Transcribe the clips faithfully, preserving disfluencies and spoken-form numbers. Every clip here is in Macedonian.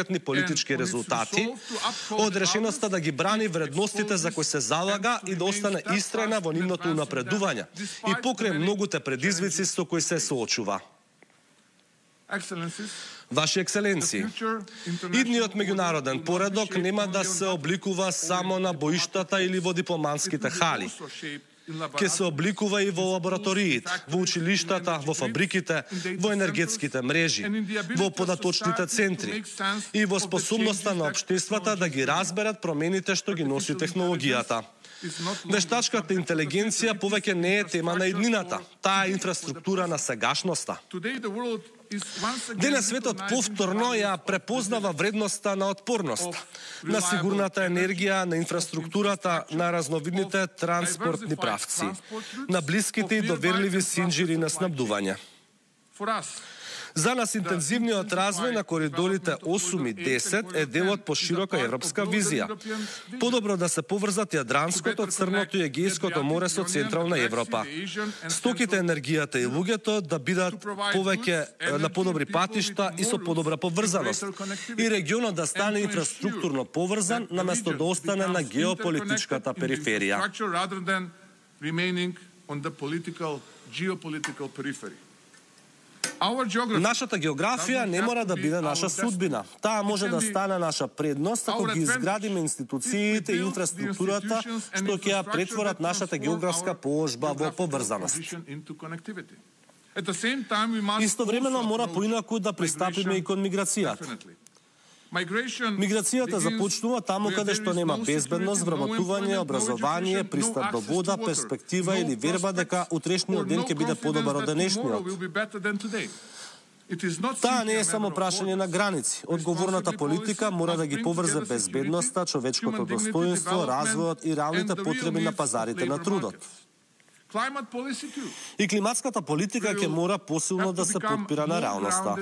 политички резултати, од решеноста да ги брани вредностите за кои се залага и да остане истрајна во нивното унапредување и покрај многуте предизвици со кои се соочува. Ваши екселенции, идниот меѓународен поредок нема да се обликува само на боиштата или во дипломатските хали. Ке се обликува и во лабораториите, во училиштата, во фабриките, во енергетските мрежи, во податочните центри и во способноста на општествата да ги разберат промените што ги носи технологијата. Вештачката интелигенција повеќе не е тема на иднината, таа е инфраструктура на сегашноста. Денес светот повторно ја препознава вредноста на отпорност, на сигурната енергија, на инфраструктурата, на разновидните транспортни правци, на блиските и доверливи синџири на снабдување. За нас интензивниот развој на коридорите осум и десет е дел од поширока европска визија. Подобро да се поврзат Јадранското, Црното и Егејското море со Централна Европа. Стоките, енергијата и луѓето да бидат повеќе на подобри патишта и со подобра поврзаност. И регионот да стане инфраструктурно поврзан наместо да остане на геополитичката периферија. Нашата географија не мора да биде наша судбина. Таа може да стане наша предност ако ги изградиме институциите и инфраструктурата што ќе ја претворат нашата географска положба во поврзаност. Истовремено мора поинаку да пристапиме и кон миграцијата. Миграцијата започнува таму каде што нема безбедност, вработување, образование, пристап до вода, перспектива или верба дека утрешниот ден ќе биде подобар од денешниот. Таа не е само прашање на граници. Одговорната политика мора да ги поврзе безбедноста, човечкото достоинство, развојот и реалните потреби на пазарите на трудот. И климатската политика ќе мора посилно да се подпира на реалноста.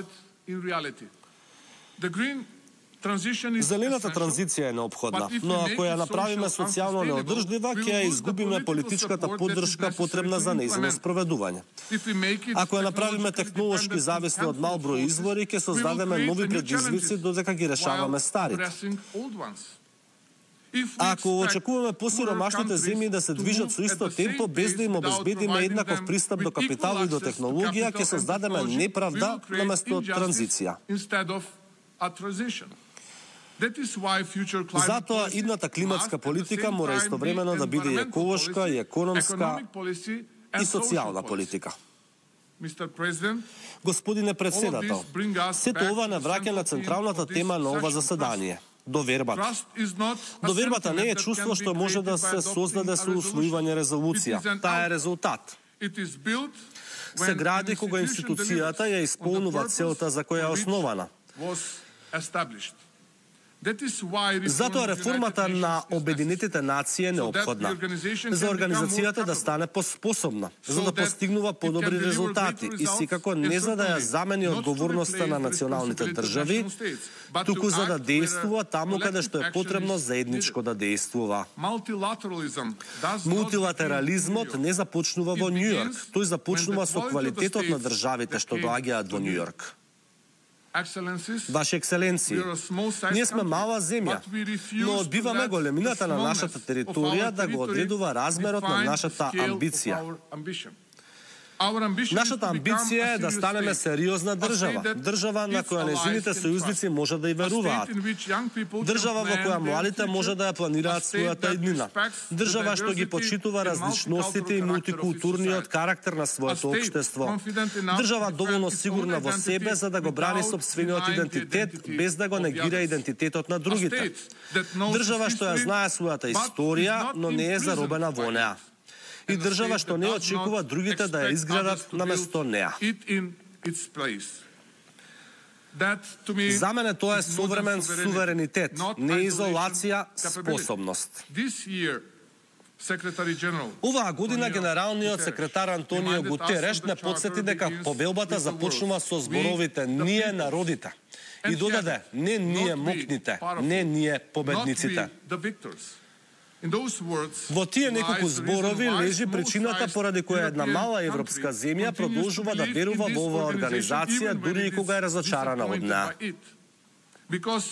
Зелената транзиција е неопходна, но ако ја направиме социјално неодржлива, ќе ја изгубиме политичката поддршка потребна за нејзино спроведување. Ако ја направиме технолошки зависни од мал број извори, ќе создадеме нови предизвици додека ги решаваме старите. Ако очекуваме посиромашните земји да се движат со исто темпо без да им обезбедиме еднаков пристап до капитал и до технологија, ќе создадеме неправда наместо транзиција. Затоа идната климатска политика мора истовремено да биде и еколошка, и економска, и социјална политика. Господине председател, сето ова не враќа на централната тема на ова заседание – довербата. Довербата не е чувство што може да се создаде со усвојување резолуција. Таа е резултат. Се гради кога институцијата ја исполнува целта за која е основана. Затоа реформата на Обединетите нации е неопходна. За организацијата да стане поспособна, за да постигнува подобри резултати и секако не за да ја замени одговорноста на националните држави, туку за да дејствува таму каде што е потребно заедничко да дејствува. Мултилатерализмот не започнува во Њујорк, тој започнува со квалитетот на државите што доаѓаат во Њујорк. Ваши екселенции, ние сме мала земја, но одбиваме големината на нашата територија да го одредува размерот на нашата амбиција. Нашата амбиција е да станеме сериозна држава, држава на која незините сојузници може да и веруваат, држава во која младите може да ја планираат својата иднина, држава што ги почитува различностите и мултикултурниот карактер на своето општество, држава доволно сигурна во себе за да го брани сопствениот идентитет без да го негира идентитетот на другите, држава што ја знае својата историја, но не е заробена во неа. И држава што не очекува другите да ја изградат наместо неа. За мене тоа е современ суверенитет, не изолација, способност. Оваа година генералниот секретар Антонио Гутереш не подсети дека повелбата започнува со зборовите "Ние народите" и додаде "Не ние мокните, не ние победниците". Во тие неколку зборови лежи причината поради која една мала европска земја продолжува да верува во оваа организација дури и кога е разочарана од неа. because